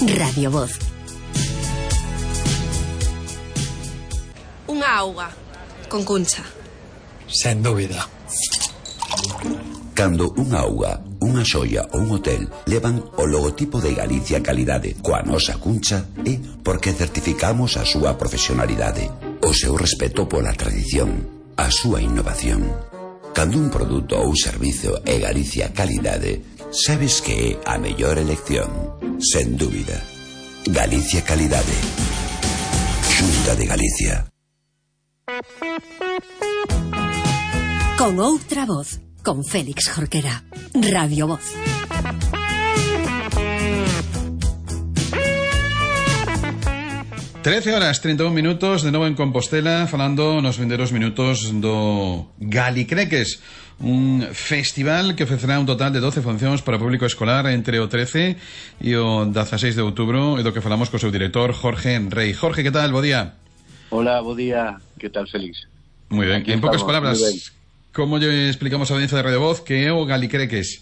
Radio Voz. Unha auga con Cuncha. Sen dúbida. Cando unha auga, unha xoia ou un hotel levan o logotipo de Galicia Calidade coa nosa Cuncha, é porque certificamos a súa profesionalidade, o seu respeto pola tradición, a súa innovación. Cando un produto ou servizo é Galicia Calidade, sabes que é a mellor elección, sen dúbida. Galicia Calidade. Xunta de Galicia. Con outra voz, con Félix Jorquera. Radio Voz. Trece horas, 31 minutos, de novo en Compostela, falando nos vindeiros minutos do Galicreques, un festival que ofrecerá un total de 12 funcións para o público escolar entre o 13 e o 16 de outubro, e do que falamos co seu director, Jorge Rey. Jorge, que tal? Bo día. Hola, bo día. Que tal, Félix? Moi ben. En poucas palabras, como lle explicamos a audiencia de Radio Voz que é o Galicreques?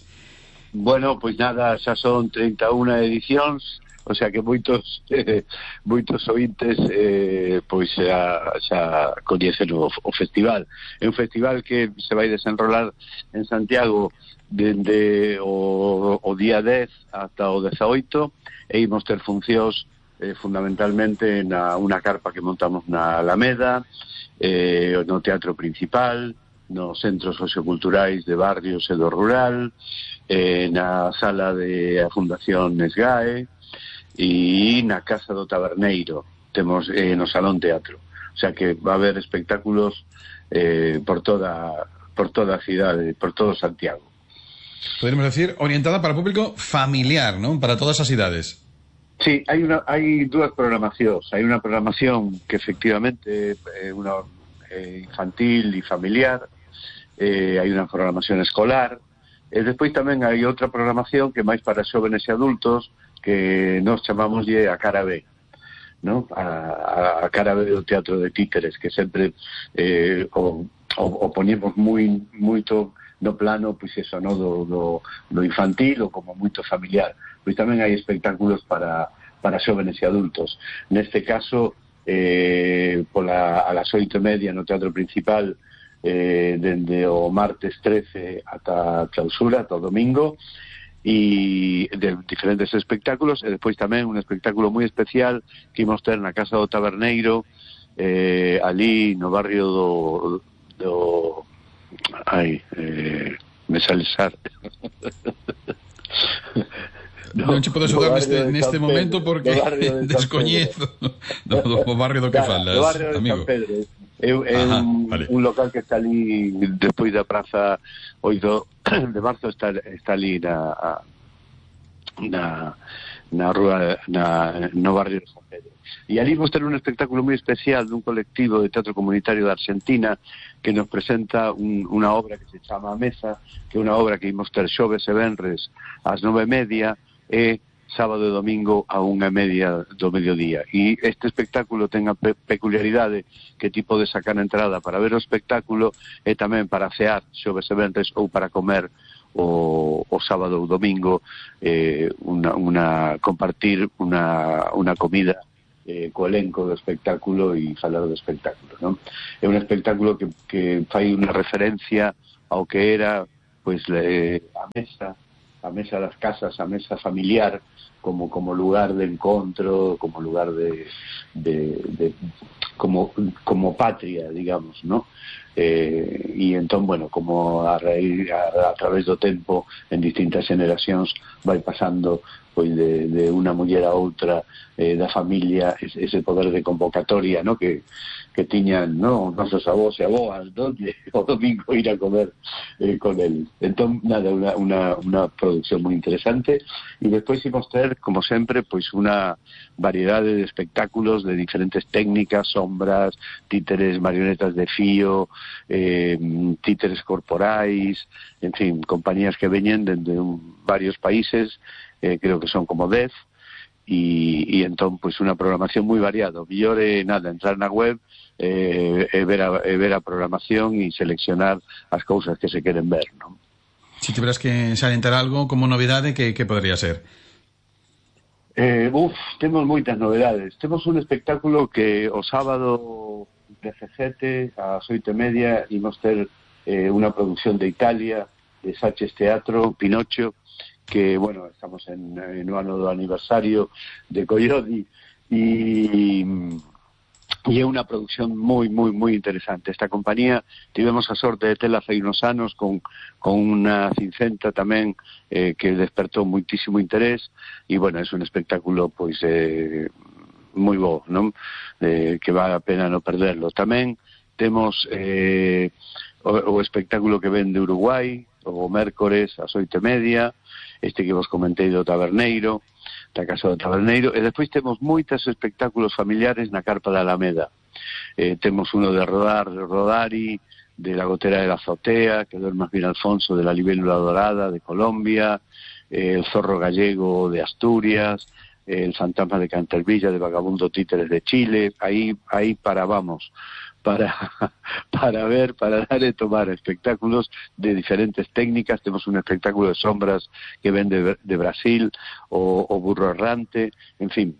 Bueno, pois nada, xa son 31 edicións, o sea que moitos ointes pois xa coñecen o festival. É un festival que se vai desenrolar en Santiago dende o día 10 ata o 18, e imos ter funcións fundamentalmente na unha carpa que montamos na Alameda, no Teatro Principal, nos centros socioculturais de barrios e do rural, na sala de a Fundación Esgae e na Casa do Taberneiro, temos no Salón Teatro. O sea que va a haber espectáculos por toda a cidade, por todo Santiago. Podríamos decir, orientada para o público familiar, ¿no? Para todas as idades. Sí, hai dúas programacións. Hai unha programación que efectivamente é unha infantil e familiar, hai unha programación escolar, e despois tamén hai outra programación que máis para xóvenes e adultos, que nos chamámoslle a cara B, ¿no? A cara B do teatro de títeres, que sempre o poñemos moito no plano, pois eso, no, do infantil ou como moito familiar. Pois tamén hai espectáculos para xóvenes e adultos. Neste caso, a las 8:30 no Teatro Principal, dende o martes 13 ata a clausura, ata o domingo, e de diferentes espectáculos, e despois tamén un espectáculo moi especial que imos ter na Casa do Taberneiro, ali no barrio do me sale Sar. Non che podo axudar neste momento porque descoñezo do barrio do que falas, amigo. É un local que está ali despois da Praza 8 de Marzo, está ali na rúa, no barrio de San Pedro. E ali vamos ter un espectáculo moi especial dun colectivo de teatro comunitario da Argentina que nos presenta unha obra que se chama A Mesa, que é unha obra que imos ter xoves e venres ás 9:30 e sábado e domingo a 1:30 do mediodía. E este espectáculo ten a peculiaridade que ti podes sacar a entrada para ver o espectáculo e tamén para cear xoves e venres ou para comer o sábado ou domingo, compartir unha comida co elenco do espectáculo e falar do espectáculo, non? É un espectáculo que fai unha referencia ao que era pois a mesa das casas, a mesa familiar, como lugar de encontro, como lugar como patria, digamos, ¿no? E entón, bueno, como a través do tempo, en distintas generacións, vai pasando pois de unha muller a outra, da familia, ese poder de convocatoria, ¿no? que tiñan, ¿no? Nosos avós e aboas, ¿no? O domingo ir a comer con él. Entón, nada, unha producción moi interesante, e despois imos ter, como sempre, pois unha variedade de espectáculos de diferentes técnicas, sombras, títeres, marionetas de fío, títeres corporais, en fin, compañías que veñen dende varios países, creo que son como 10, e entón, pois, unha programación moi variada. O mellor é, nada, entrar na web e ver a programación e seleccionar as cousas que se queren ver, non? Se tiveras que salientar algo como novidade, que podría ser? Temos moitas novedades. Temos un espectáculo que o sábado 17 ás 8:30 imos ter unha produción de Italia, de Saches Teatro, Pinocho, que, bueno, estamos no ano do aniversario de Coyodi, e é unha produción moi interesante. Esta compañía tivemos a sorte de tela fai uns anos con unha cincenta tamén que despertou moitísimo interés, e, bueno, é un espectáculo pois moi bo, non? Que vale a pena non perderlo. Tamén temos o espectáculo que ven de Uruguai, o mércores ás 8:30, este que vos comentei do Taberneiro, da Casa do Taberneiro, e despois temos moitos espectáculos familiares na Carpa da Alameda. Temos uno de Rodari, de La Gotera de la Azotea, que duermas bien Alfonso, de La Libélula Dorada, de Colombia, el Zorro Gallego, de Asturias, el Fantasma de Cantervilla, de Vagabundo Títeres, de Chile. Ahí parábamos para ver, para dar e tomar espectáculos de diferentes técnicas. Temos un espectáculo de sombras que ven de Brasil, o Burro Errante, en fin,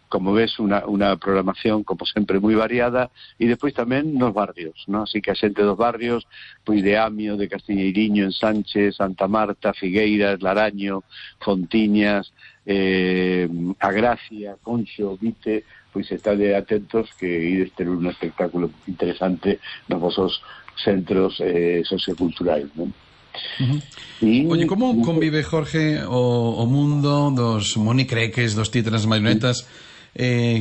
como ves, unha programación, como sempre, moi variada, e despois tamén nos barrios, ¿no? Así que a xente dos barrios, pois de Amio, de Castiñeiriño, en Sánchez, Santa Marta, Figueiras, Laraño, Fontiñas, A Gracia, Conxo, Vite, pois estade atentos que ides ter un espectáculo interesante nos vosos centros socioculturais, non? Oye, como convive, Jorge, o mundo dos monicreques, dos títeres, marionetas,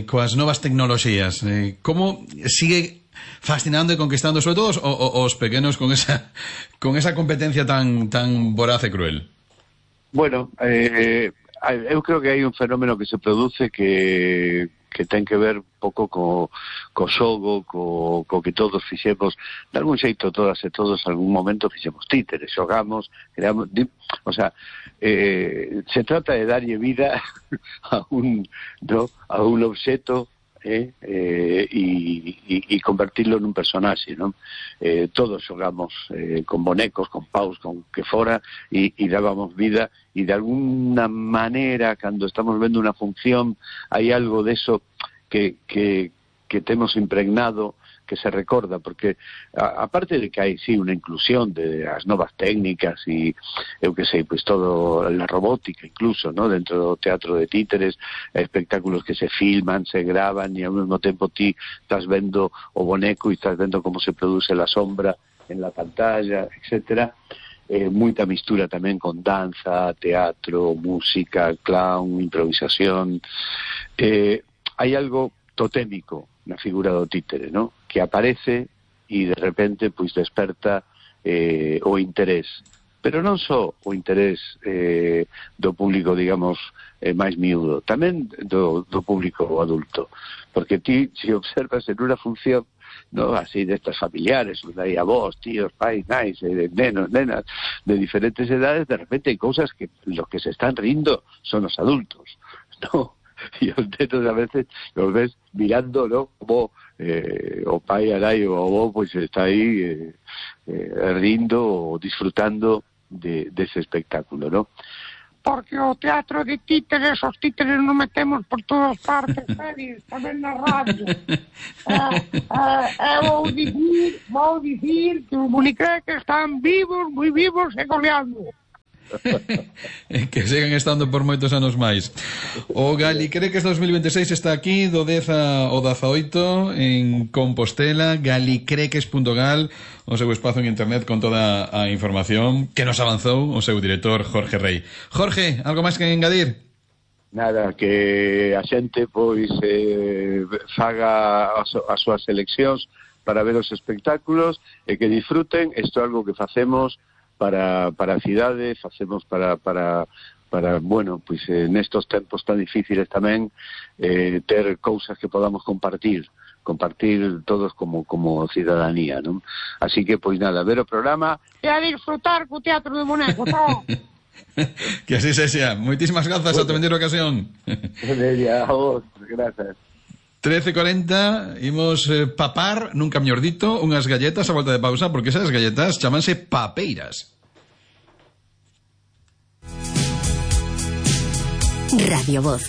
coas novas tecnoloxías? Como sigue fascinando e conquistando, sobre todo os pequenos, con esa competencia tan voraz e cruel? Bueno, eu creo que hai un fenómeno que se produce que ten que ver un pouco co xogo, co que todos fixemos, de algún xeito todas e todos algún momento fixemos títeres, xogamos, creamos, o sea, se trata de darlle vida a un obxeto e convertirlo nun personaxe, non? Todos xogamos con bonecos, con paus, con que fora, e dábamos vida, e de alguna maneira, cando estamos vendo unha función, hai algo deso que temos impregnado, que se recorda, porque aparte de que hai, sí, unha inclusión de as novas técnicas e eu que sei, pois todo a robótica incluso, ¿no? Dentro do teatro de títeres, espectáculos que se filman, se graban, e ao mesmo tempo ti estás vendo o boneco e estás vendo como se produce la sombra en la pantalla, etcétera. Moita mistura tamén con danza, teatro, música, clown, improvisación. Hai algo totémico na figura do títere, ¿no? Que aparece e de repente pois desperta o interés, pero non só o interés do público, digamos, máis miúdo, tamén do público adulto, porque ti, se observas en unha función, no, así destas familiares, onde hai avós, tíos, pais, nais, nenos, nenas de diferentes edades, de repente hai cousas que los que se están rindo son os adultos, no? E os nenos a veces los ves mirando, ¿no? Como o pai, a nai, o avó, pois está aí rindo ou disfrutando dese espectáculo, ¿no? Porque o teatro de títeres, os títeres non metemos por todas partes, tamén na radio. Vou dicir que os monicreques están vivos, moi vivos e coleando. Que sigan estando por moitos anos máis. O Galicreques 2026 está aquí do 10 ao 18 en Compostela, galicreques.gal, o seu espazo en internet con toda a información que nos avanzou o seu director Jorge Rey. Jorge, algo máis que engadir? Nada, que a xente pois faga as súas seleccións para ver os espectáculos e que disfruten. Isto é algo que facemos para a cidade, facemos para bueno, pois nestos tempos tan difíciles tamén ter cousas que podamos compartir todos como cidadanía, non? Así que, pois nada, ver o programa e a disfrutar co teatro de bonecos, ¿no? Que así sexa. Moitísimas grazas, ata vender ocasión. A vos, grazas. 13:40, imos papar nun camión dito unhas galletas a volta de pausa, porque esas galletas chamanse papeiras. Radio Voz.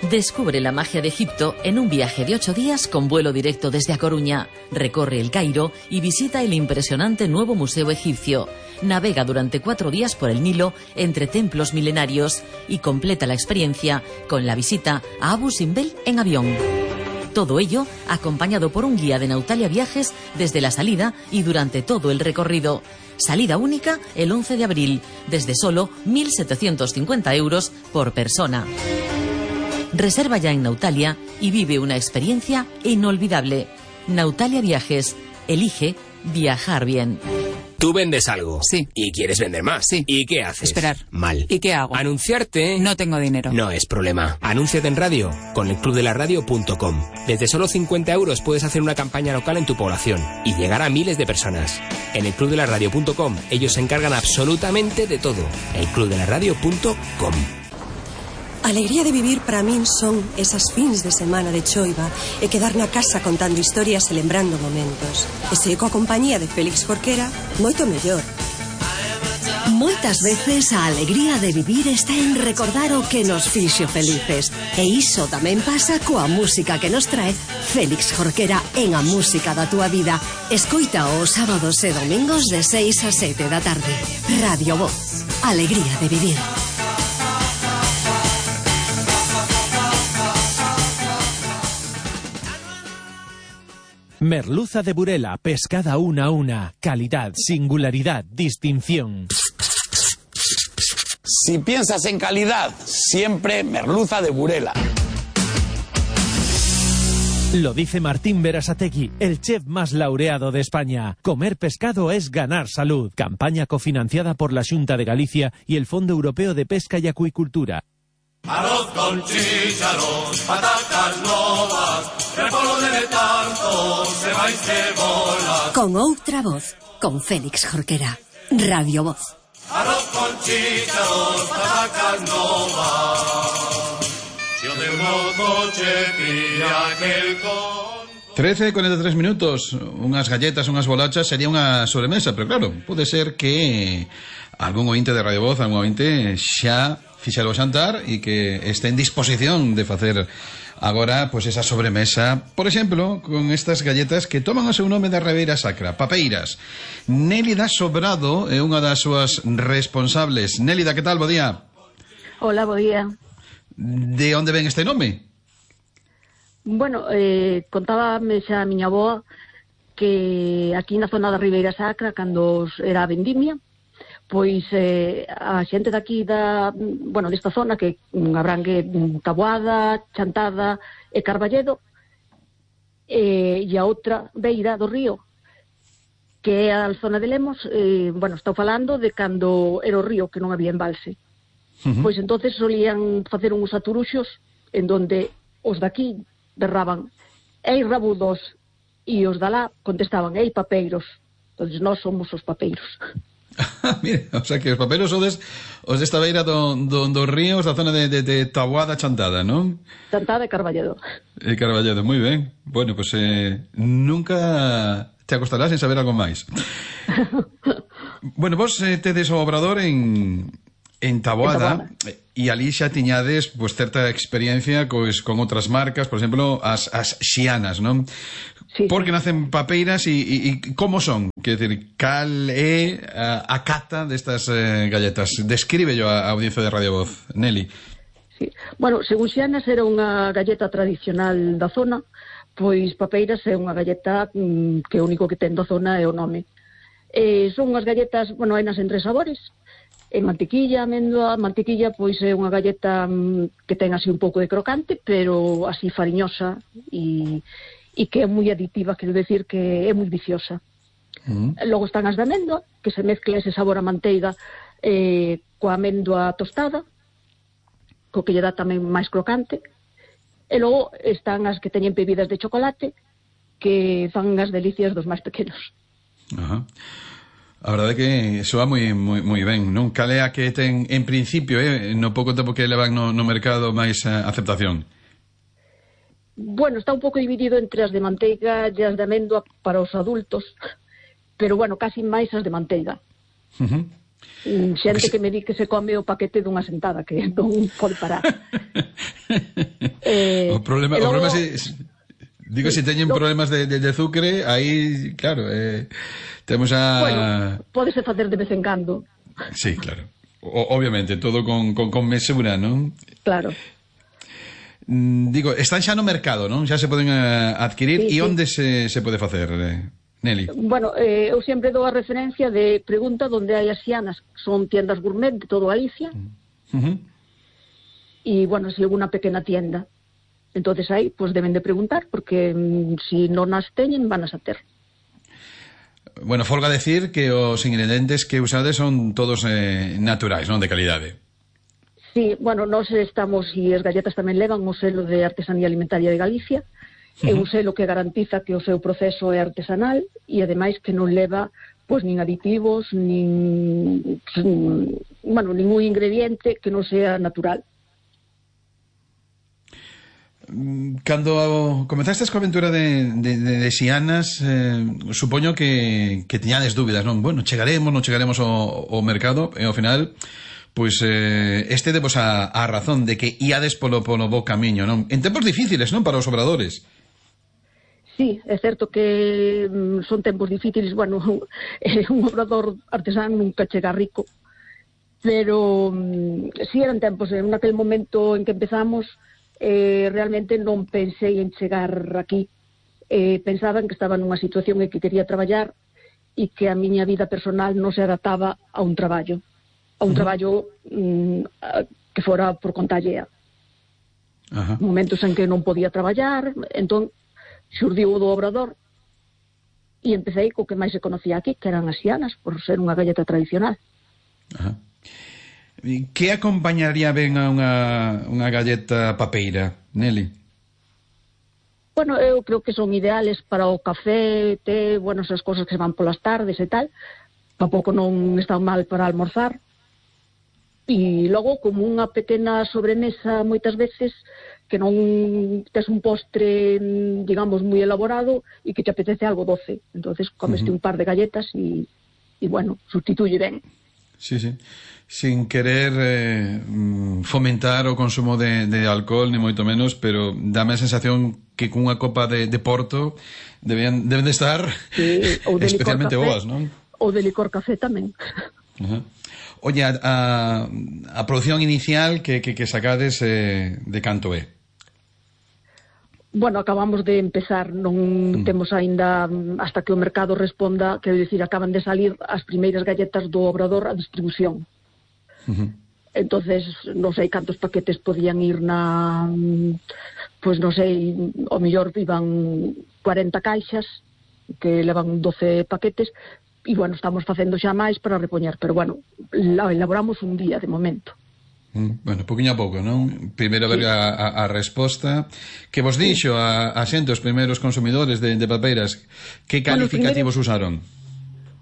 Descubre la magia de Egipto en un viaje de 8 días con vuelo directo desde A Coruña. Recorre el Cairo y visita el impresionante nuevo museo egipcio. Navega durante 4 días por el Nilo entre templos milenarios y completa la experiencia con la visita a Abu Simbel en avión. Todo ello acompañado por un guía de Nautalia Viajes desde la salida y durante todo el recorrido. Salida única el 11 de abril, desde solo 1.750 euros por persona. Reserva ya en Nautalia y vive una experiencia inolvidable. Nautalia Viajes. Elige viajar bien. Tú vendes algo. Sí. Y quieres vender más. Sí. ¿Y qué haces? Esperar. Mal. ¿Y qué hago? Anunciarte. No tengo dinero. No es problema. Anúnciate en radio con elclubdelaradio.com. Desde solo 50 euros puedes hacer una campaña local en tu población y llegar a miles de personas. En elclubdelaradio.com ellos se encargan absolutamente de todo. elclubdelaradio.com. A alegría de vivir para min son esas fins de semana de choiva e quedar na casa contando historias e lembrando momentos. E se coa compañía de Félix Jorquera, moito mellor. Moitas veces a alegría de vivir está en recordar o que nos fixo felices. E iso tamén pasa coa música que nos trae Félix Jorquera en A Música da Túa Vida. Escoita os sábados e domingos de 6 a 7 da tarde. Radio Voz. Alegría de vivir. Merluza de Burela, pescada una a una. Calidad, singularidad, distinción. Si piensas en calidad, siempre merluza de Burela. Lo dice Martín Berasategui, el chef más laureado de España. Comer pescado es ganar salud. Campaña cofinanciada por la Xunta de Galicia y el Fondo Europeo de Pesca y Acuicultura. Arroz con chícharos, patatas novas, repollo de letargo, ceba y cebola. Con outra voz, con Félix Jorquera. Radio Voz. Arroz con chícharos, patatas novas. Yo de mozo che pilla aquel con... 13:43 minutos, unhas galletas, unhas bolachas, sería unha sobremesa, pero claro, pode ser que algún ointe de Radio Voz, algún ointe xa fixera o xantar e que este en disposición de facer agora pois esa sobremesa, por exemplo, con estas galletas que toman o seu nome da Ribeira Sacra, papeiras. Nélida Sobrado é unha das súas responsables. Nélida, que tal? Bo día. Hola, bo día. De onde ven este nome? Bueno, contábame xa a miña avoa que aquí na zona da Ribeira Sacra, cando era a vendimia, pois a xente daqui desta zona que abrangue Taboada, Chantada e Carballedo e a outra beira do río que é a zona de Lemos, estou falando de cando era o río que non había embalse. Pois entonces solían facer uns aturuxos en donde os daqui berraban ei rabudos e os dalá contestaban ei papeiros. Entonces nós somos os papeiros. Mira, o sea que os papeiros os desta beira do río, da zona de Taboada, Chantada, non? Chantada e Carballedo. E Carballedo, moi ben. Bueno, pues nunca te acostarás en saber algo máis. Bueno, vos tedes o obrador en Taboada e ali xa tiñades pues, certa experiencia con outras marcas, por exemplo, as xianas, non? Sí, porque nacen papeiras e como son? Quer dizer, cal é a cata destas galletas? Descríbello a audiencia de Radio Voz, Nelly. Sí. Bueno, según xianas era unha galleta tradicional da zona, pois papeiras é unha galleta que o único que ten da zona é o nome. Son unhas galletas, hai nas en 3 sabores, mantequilla, amêndoa. Mantequilla pois é unha galleta que ten así un pouco de crocante, pero así fariñosa e que é moi aditiva, quero decir que é moi viciosa. Logo están as de amêndoa, que se mezcla ese sabor a manteiga coa amêndoa tostada, co que lle dá tamén máis crocante. E logo están as que teñen bebidas de chocolate, que fan as delicias dos máis pequenos. Ajá. A verdade é que soa moi ben, non? Cal é a que ten, en principio, no pouco tempo que levan no mercado máis aceptación? Bueno, está un pouco dividido entre as de manteiga e as de amêndoa para os adultos, pero casi máis as de manteiga. Xente que me di que se come o paquete dunha sentada, que non pode parar. O problema digo, se teñen problemas de azúcar, aí, claro, temos a... Bueno, pódese facer de vez en cando. Sí, claro. Obviamente, todo con mesura, non? Claro. Digo, están xa no mercado, non? Xa se poden adquirir. E onde se pode facer, Nelly? Bueno, eu sempre dou a referencia de Pregunta donde hai as xianas. Son tiendas gourmet de todo Galicia. E, bueno, se alguna pequena tienda. Entonces aí, pues deben de preguntar, porque si non as teñen, van a ter. Bueno, folga decir que os ingredientes que usades son todos naturais, non? De calidade. Sí, bueno, nós estamos, e as galletas tamén levan o selo de Artesanía Alimentaria de Galicia, é un selo que garantiza que o seu proceso é artesanal e ademais que non leva pois nin aditivos, nin ningún ingrediente que non sea natural. Cando comezastes coa aventura de xianas, supoño que tiñades dúbidas, non? Bueno, non chegaremos ao mercado, e ao final, pois, este demos a razón de que iades polo bo camiño, non? En tempos difíciles, non? Para os obradores. Sí, é certo que son tempos difíciles, bueno, un obrador artesán nunca chega rico, pero sí eran tempos, en aquel momento en que empezamos, realmente non pensei en chegar aquí. Pensaba en que estaba nunha situación en que quería traballar e que a miña vida personal non se adaptaba a un traballo. A un traballo que fora por conta allea. Momentos en que non podía traballar, entón xurdiu o do obrador e empecé co que máis se conocía aquí, que eran as xianas, por ser unha galleta tradicional. Que acompañaría ben a unha galleta papeira, Nelly? Bueno, eu creo que son ideales para o café, té, bueno, esas cosas que se van polas tardes e tal. Tampouco non están mal para almorzar. E logo, como unha pequena sobremesa, moitas veces, que non tes un postre, digamos, moi elaborado e que te apetece algo doce. Entonces, comeste un par de galletas e bueno, sustituye ben. Sí. Sin querer fomentar o consumo de alcohol, ni moito menos, pero dame a sensación que cunha copa de Porto deben de estar especialmente boas, non? Ou de licor café tamén. Oye, a produción inicial que sacades de canto é? Bueno, acabamos de empezar, non temos aínda, hasta que o mercado responda, quero dicir, acaban de salir as primeiras galletas do obrador a distribución. Entonces, non sei cantos paquetes podían ir pois non sei, o mellor iban 40 caixas, que levan 12 paquetes, e bueno, estamos facendo xa máis para repoñer, pero bueno, elaboramos un día de momento. Bueno, poquinho a pouco, non? Primeiro ver a resposta que vos dixo a xente, os primeiros consumidores de papeiras. Que calificativos usaron?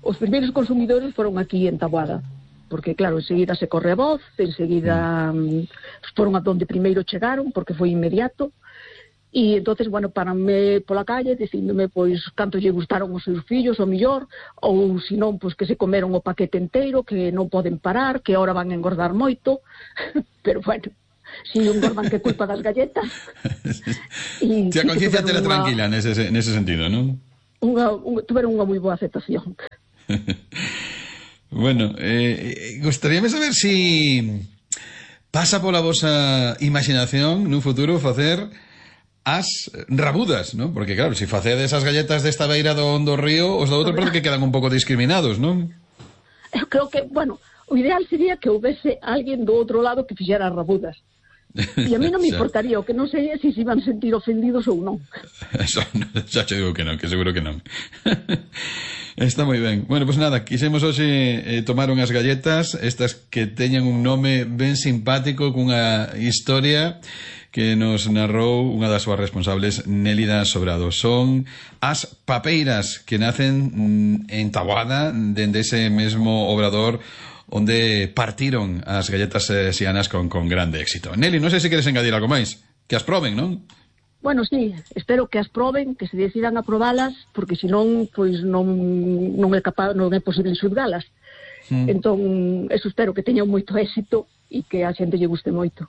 Os primeiros consumidores foron aquí en Taboada, porque claro, enseguida se corre a voz, enseguida foron a donde primeiro chegaron, porque foi inmediato, e entonces, bueno, paranme pola calle dicíndome, pois, canto lle gustaron os seus fillos, o millor, ou se non, pois, que se comeron o paquete inteiro, que non poden parar, que ahora van a engordar moito, pero, bueno, si engordan, que culpa das galletas. Ti a conciencia tela tranquila nese sentido, non? Tuveron unha moi boa aceptación. Bueno, gustaríame saber si pasa pola vosa imaginación nun futuro facer as rabudas, non? Porque claro, se facedes as galletas desta beira do río, os do outro parece que quedan un pouco discriminados, non? Eu creo que, bueno, o ideal sería que houvese alguén do outro lado que fixera as rabudas. E a mí non me importaría, o que non sei é se iban a sentir ofendidos ou non. Eso, xa te digo que non, que seguro que non. Está moi ben. Bueno, pois nada, quixemos hoxe tomar unhas galletas, estas que teñen un nome ben simpático, cunha historia que nos narrou unha das súas responsables, Nélida Sobrado. Son as papeiras que nacen en Taboada, dende ese mesmo obrador onde partiron as galletas xianas con grande éxito. Nelly, non sei se queres engadir algo máis. Que as proben, non? Bueno, sí, espero que as proben, que se decidan a probalas, porque senón, pois non é posible xulgalas. Entón, eso espero que teña moito éxito e que a xente lle guste moito.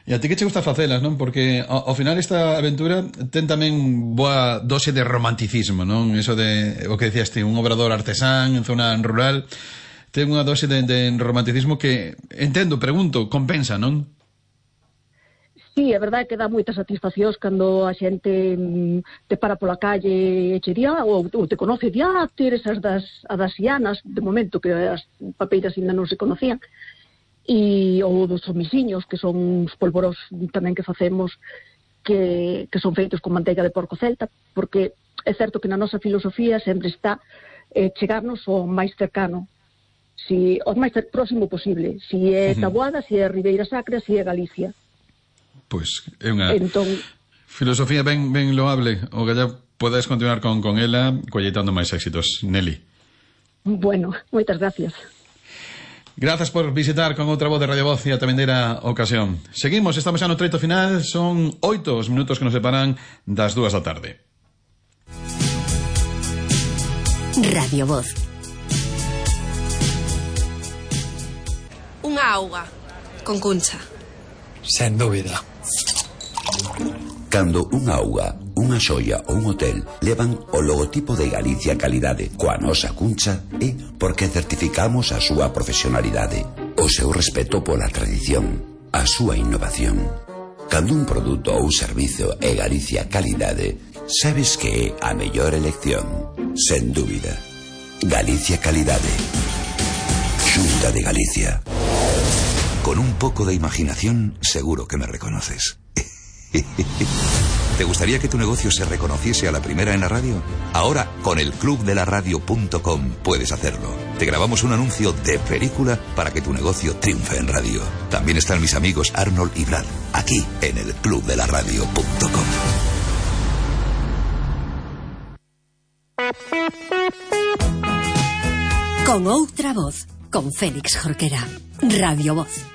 E a ti que che gusta facelas, non? Porque ao final esta aventura ten tamén boa dose de romanticismo, non? Eso de, o que decías ti, un obrador artesán en zona rural, ten unha dose de romanticismo que, entendo, pregunto, compensa, non? Sí, é verdade que dá moitas satisfaccións cando a xente te para pola calle e che di, ou te conoce, di, ti eres as das Ianas, de momento que as papeiras ainda non se conocían, ou dos homiciños, que son uns polvoros tamén que facemos, que son feitos con manteiga de porco celta, porque é certo que na nosa filosofía sempre está chegarnos ao máis cercano, ao máis próximo posible, si é Taboada, si é Ribeira Sacra, si é Galicia. Pois é unha filosofía ben loable. O galla podes continuar con ela colleitando máis éxitos. Nelly. Bueno, moitas gracias. Grazas por visitar con outra voz de Radio Voz e a tamendeira ocasión. Seguimos, estamos xa no treito final. Son 8 os minutos que nos separan das 2 da tarde. Radio Voz. Unha auga con Cuncha. Sen dúbida. Cando unha auga, unha xoia ou un hotel levan o logotipo de Galicia Calidade coa nosa Cuncha é porque certificamos a súa profesionalidade, o seu respeto pola tradición, a súa innovación. Cando un produto ou servizo é Galicia Calidade, sabes que é a mellor elección, sen dúbida. Galicia Calidade. Xunta de Galicia. Con un poco de imaginación, seguro que me reconoces. ¿Te gustaría que tu negocio se reconociese a la primera en la radio? Ahora, con el clubdelaradio.com puedes hacerlo. Te grabamos un anuncio de película para que tu negocio triunfe en radio. También están mis amigos Arnold y Brad, aquí en el clubdelaradio.com. Con outra voz, con Félix Jorquera. Radio Voz.